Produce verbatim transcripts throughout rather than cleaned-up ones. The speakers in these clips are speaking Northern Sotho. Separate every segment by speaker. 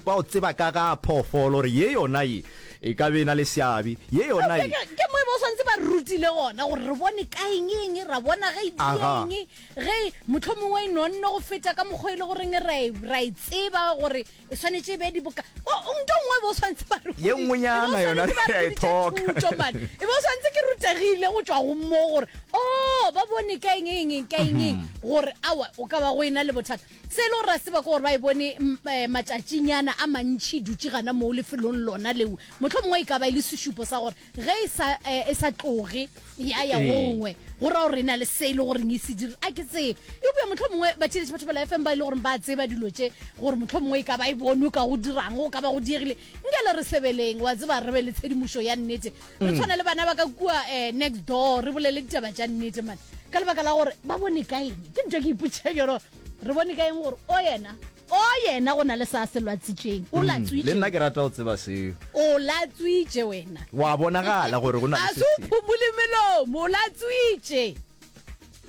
Speaker 1: Ba o tseba ka ga phoofolo gore ye yona ye e ka be e na le seabe, ye yona ye.
Speaker 2: Ke mo e ba o swanetše ba re rutile gona gore re bone ka eng eng, ra bona ge e
Speaker 1: Aga.
Speaker 2: eng, ge mohlomongwe e nonne go feta ka mokgwa e le goreng ra e, ra e tseba gore e swanetše e be diboka. O, o, nto nngwe e be o swanetše ba re
Speaker 1: Ye nngwenyana
Speaker 2: e be o
Speaker 1: yona
Speaker 2: swanetše ba
Speaker 1: re a e
Speaker 2: re
Speaker 1: thoka.
Speaker 2: thuto man. E be o swanetše ke rutegile go tšwa go mo gore oh ba bone ka eng eng eng ka eng eng gore aowa o ka ba go ena le bothata. Se e le gore ra tseba ke gore ba e bone matšatšinyana a mantši e dutše gana moo lefelong lona leo. Mohlomongwe e ka ba e le sešupo sa gore ge e sa, e sa tloge ya ya gongwe, go ra gore e na le se e le goreng e se dira. A ke tsebe. Eupša mohlomongwe batheeletši ba Thobela F M ba e le goreng ba tseba dilo tše, gore mohlomongwe e ka ba e bonwe ka go dirang, go ka ba go diegile. Nke le re sebeleng, wa tseba, re be le tshedimošo ya nnete. Re tshwane le bana ba ka kua next door, re bolele ditaba tša nnete, man. Ka lebaka la gore ba bone ka eng? Ke ntho e ke ipotšišang yona gore re bone ka eng gore o yena, o yena go na le sa se lwatsitšeng. O
Speaker 1: Mm,
Speaker 2: latswitše.
Speaker 1: Le nna ke rata go tseba seo.
Speaker 2: O latswitše wena.
Speaker 1: Wa bonagala gore go na le
Speaker 2: A
Speaker 1: se
Speaker 2: se o
Speaker 1: sengwe.
Speaker 2: phumole melomo, o latswitše.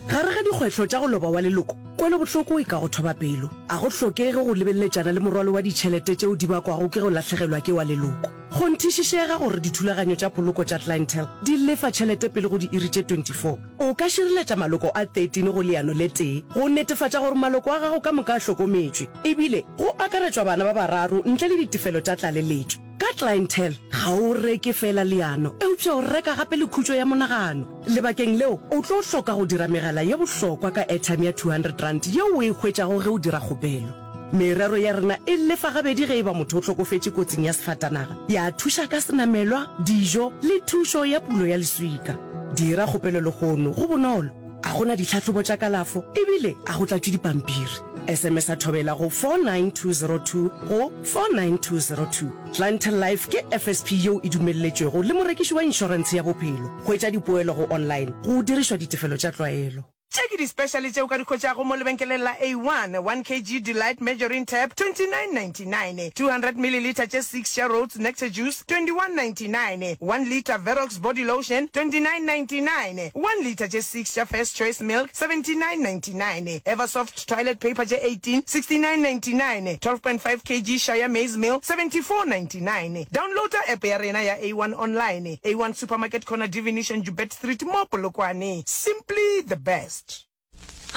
Speaker 3: Gare ga dikgwehlo tša go loba wa leloko, kwelobohloko e ka go thoba pelo. A go hlokege go lebeleletšana le morwalo wa ditšhelete tšeo di bakwago ke go lahlegelwa ke wa leloko. Kgonthišišega gore dithulaganyo tša poloko tša Clientele di lefa tšhelete pele go diiri tše twenty four. O ka šireletša maloko a thirteen go leano le tee go netefatša gore maloko a gago ka moka a hlokometšwe, ebile go akaretšwa bana ba bararo ntle le ditefelo tša tlaleletšo. Ka Clientele, ga o reke feela leano, eupša o reka gape le khutšo ya monagano. Lebakeng leo, o tlo hloka go dira megala ye bohlokwa ka airtime ya two hundred rand yeo o e hwetšago ge o dira kgopelo. Merero ya rena e lefa gabedi ge e ba motho o hlokofetše kotsing ya sefatanaga, ya thuša ka senamelwa, dijo le thušo ya pulo ya leswika. Dira kgopelo lehono, go bonolo, ga go na ditlhahlobo tša kalafo ebile ga go tlatšwe dipampiri. S M S-a Thobela go four nine two zero two go four nine two zero two. Clientele Life ke F S P yeo e dumelletšwego le morekiši wa inšorentshe ya bophelo. Hwetša dipoelo go online go dirišwa ditefelo tša tlwaelo.
Speaker 4: Tše ke di-special tše o ka di hwetšago mo lebenkeleng la A one, one kg Delight Margarine Tab, twenty-nine ninety-nine, two hundred millilitre tše six tša Rhodes Nectar Juice, twenty-one ninety-nine, one litre Verox Body Lotion, twenty-nine ninety-nine, one litre tše six tša First Choice Milk, seventy-nine ninety-nine, Eversoft Toilet Paper tše eighteen, sixty-nine ninety-nine, twelve point five kg Shire Maize Meal, seventy-four ninety-nine. Downloada app ya rena ya A one online, A one Supermarket Corner Divination Joubert Street mo Polokwane. Simply the best.